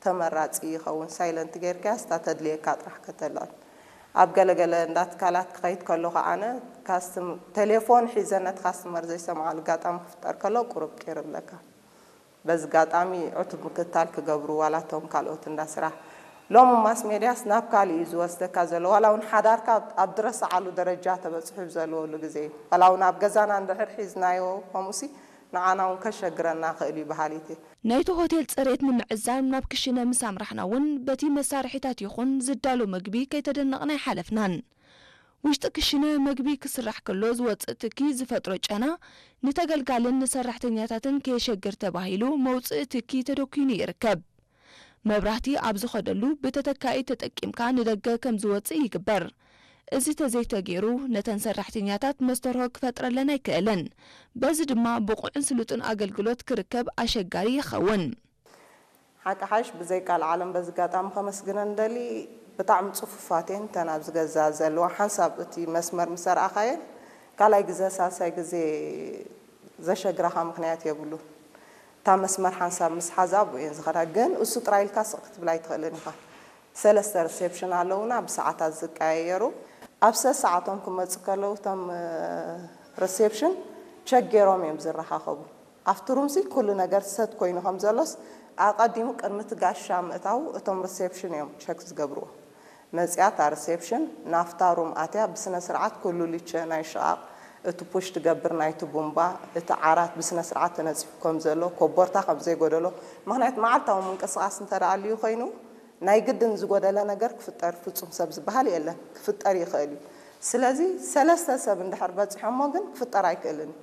ተመራፂ ይኸውን። ሳይለንት ጌርካያስ እታ ተድልየካ ጥራሕ ከተልዕል። ኣብ ገለገለ እንዳ ትካላት ክኸይድ ከለኹ ኣነ ካስትም-፣ ቴሌፎን ሒዘ ነቲ ካስትመር ዘይሰምዓሉ ኣጋጣሚ ክፍጠር ከሎ ቁሩብ ቂር እብለካ። በዚ ኣጋጣሚ ዕቱብ ምክትታል ክገብሩ ዋላ እቶም ካልኦት እንዳ ስራሕ። ሎሚ ማስ ሜድያስ ናብ ካሊእ እዩ ዝወስደካ ዘሎ። ዋላ እውን ሓዳርካ ኣብ፣ ኣብ ዝረስዓሉ ደረጃ ተበፅሑ ዘለወሉ ግዜ እዩ። ዋላ እውን ኣብ ገዛና እንድሕር ሒዝናዮ ከምኡሲ ንዓና እውን ከሸግረና ክእል እዩ በሃሊት እየ። ናይቲ ሆቴል ፅሬት ንምዕዛብ ናብ ክሽነ ምስ ኣምራሕና እውን በቲ መሳርሒታት ይኹን ዝዳሎ ምግቢ ከይተደነቕና ኣይሓለፍናን። ውሽጢ ክሽነ መግቢ ክስራሕ ከሎ ዝወፅእ ትኪ ዝፈጥሮ ጨና ንተገልጋልን ንሰራሕተኛታትን ከየሸግር ተባሂሉ መውፅኢ ትኪ ተደኲኑ ይርከብ። መብራህቲ ኣብ ዝኸደሉ ብተተካኢ ተጠቂምካ ንደገ ከም ዝወፅእ ይግበር። እዚ ተዘይተገይሩ ነተን ሰራሕተኛታት መስተርሆ ክፈጥረለን ኣይክእልን። በዚ ድማ ብቑዕን ስሉጥን ኣገልግሎት ክርከብ ኣሸጋሪ ይኸውን። ሓቂ ሓሽ ብዘይ ቃል ዓለም በዚ ኣጋጣሚ ከመስግነን ደሊ ብጣዕሚ ፅፉፋት እየን እተን ኣብዚ ገዛ ዘለዋ ሓንሳብ እቲ መስመር ምስ ኣርኣኻየን ካልኣይ ግዜ ሳልሳይ ግዜ ዘሸግራኻ ምኽንያት የብሉን። እታ መስመር ሓንሳብ ምስ ሓዛ ኣብኡ እየን ዝኸዳ። ግን እሱ ጥራይ ኢልካ ስቕ ክትብል ኣይትኽእልን ኢኻ። ሰለስተ ሪሴፕሽን ኣለውና ብሰዓታት ዝቀያየሩ። ኣብ ሰሰዓቶም ክመፁ ከለዉ እቶም ሪሴፕሽን ቸክ ገይሮም እዮም ዝረኻኸቡ። ኣብቲ ሩምሲ ኩሉ ነገር ሰት ኮይኑ ከም ዘሎስ ኣቐዲሙ ቅድሚ እቲ ጋሻ ምእታው እቶም ሪሴፕሽን እዮም ቸክ ዝገብርዎ። መፂኣ እታ ሪሴፕሽን ናብታ ሩም ኣትያ ብስነ ስርዓት ኩሉ ሊቸ ናይ ሽቓቕ፣ እቲ ፑሽ ትገብር ናይቲ ቡምባ፣ እቲ ዓራት ብስነ ስርዓት ተነፂፉ ከም ዘሎ፣ ኮቦርታ ከም ዘይጎደሎ፣ ምኽንያት መዓልታዊ ምንቅስቓስ እንተ ደኣ ኣልዩ ኮይኑ ናይ ግድን ዝጎደለ ነገር ክፍጠር ፍጹም ሰብ ዝበሃል የለን፣ ክፍጠር ይኽእል እዩ። ስለዚ ሰለስተ ሰብ እንድሕር በፂሖሞ ግን ክፍጠር ኣይክእልን እዩ።